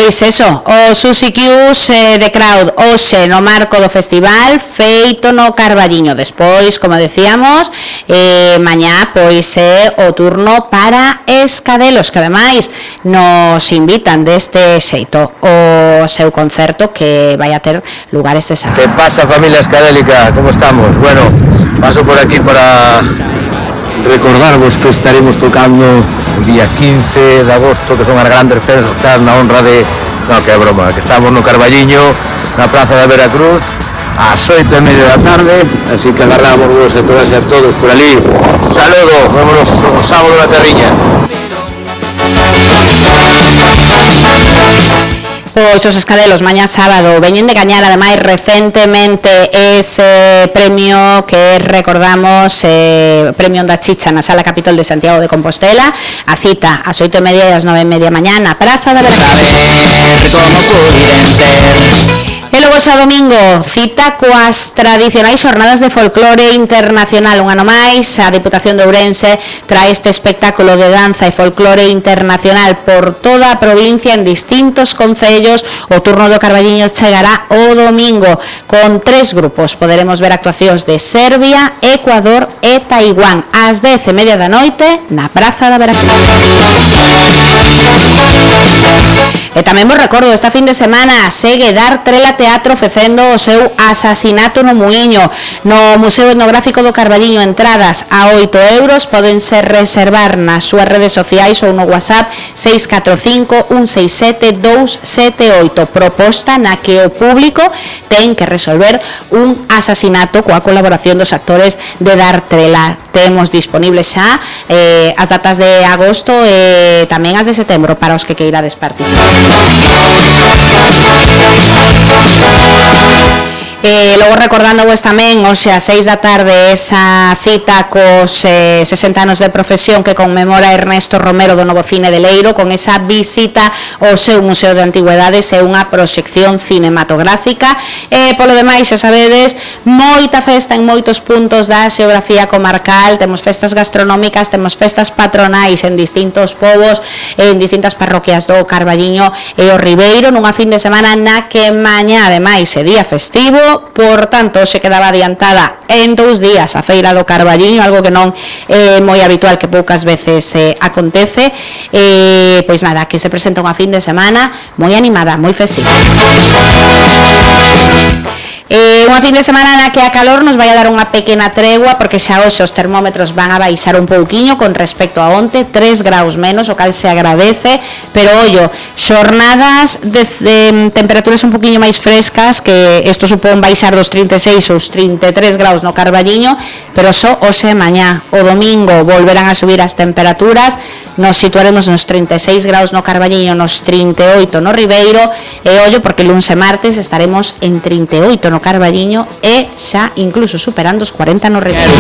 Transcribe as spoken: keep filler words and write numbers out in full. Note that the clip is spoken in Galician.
Pois eso, o Susi Q's eh, de Crowd hoxe no marco do festival feito no Carballiño. Despois, como decíamos, eh, mañá pois é o turno para Escadelos, que ademais nos invitan deste xeito o seu concerto que vai a ter lugar este sábado. Que pasa, familia escadélica? Como estamos? Bueno, paso por aquí para recordarvos que estaremos tocando o día quince de agosto, que son as grandes festas na honra de... No, que é broma, que estamos no Carballiño, na Praza da Veracruz, ás oito e media da tarde, así que agarramos vos a todas e a todos por ali. Un saludo, vámonos o sábado na Terriña. Pois os Escadelos mañá sábado veñen de gañar ademais recentemente ese premio que recordamos, eh, premio Onda Chicha na Sala Capitol de Santiago de Compostela. A cita ás oito e media e ás nove e media mañá na Praza da Veracruz. E logo xa domingo, cita coas tradicionais xornadas de folclore internacional. Un ano máis, a Diputación de Ourense trae este espectáculo de danza e folclore internacional por toda a provincia en distintos concellos. O turno do Carballiño chegará o domingo con tres grupos. Poderemos ver actuacións de Serbia, Ecuador e Taiwán ás dez e media da noite na Praza da Veracruz. E tamén vos recordo, esta fin de semana segue Dar Trela Teatro ofrecendo o seu Asasinato no Muiño no Museo Etnográfico do Carballiño. Entradas a oito euros, podense reservar nas súas redes sociais ou no WhatsApp seis catro cinco un seis sete dous sete oito. Proposta na que o público ten que resolver un asasinato coa colaboración dos actores de Dar Trela. Temos disponibles xa eh, as datas de agosto e tamén as de setembro para os que queirades participar. E logo recordando vos tamén hoxe a seis da tarde esa cita cos eh, sesenta anos de profesión que conmemora Ernesto Romero do Novo Cine de Leiro, con esa visita ao seu Museo de Antigüedades e unha proxección cinematográfica. E polo demais, xa sabedes, moita festa en moitos puntos da xeografía comarcal. Temos festas gastronómicas, temos festas patronais en distintos povos, en distintas parroquias do Carballiño e o Ribeiro, nunha fin de semana na que mañá ademais é día festivo. Por tanto, se quedaba adiantada en dous días a Feira do Carballiño, algo que non é moi habitual, que poucas veces eh, acontece. Eh, pois nada, que se presenta unha fin de semana moi animada, moi festiva. Eh, unha fin de semana na que a calor nos vai a dar unha pequena tregua, porque xa hoxe os termómetros van a baixar un pouquiño con respecto a onte, tres graus menos, o cal se agradece, pero ollo, xornadas de, de temperaturas un poquinho máis frescas, que isto supón baixar dos trinta e seis aos trinta e tres graus no Carballiño, pero só hoxe e mañá. O domingo volverán a subir as temperaturas, nos situaremos nos trinta e seis graus no Carballiño, nos trinta e oito no Ribeiro, e ollo, porque luns e martes estaremos en trinta e oito no Carballiño e xa incluso superando os cuarenta no Ribeiro.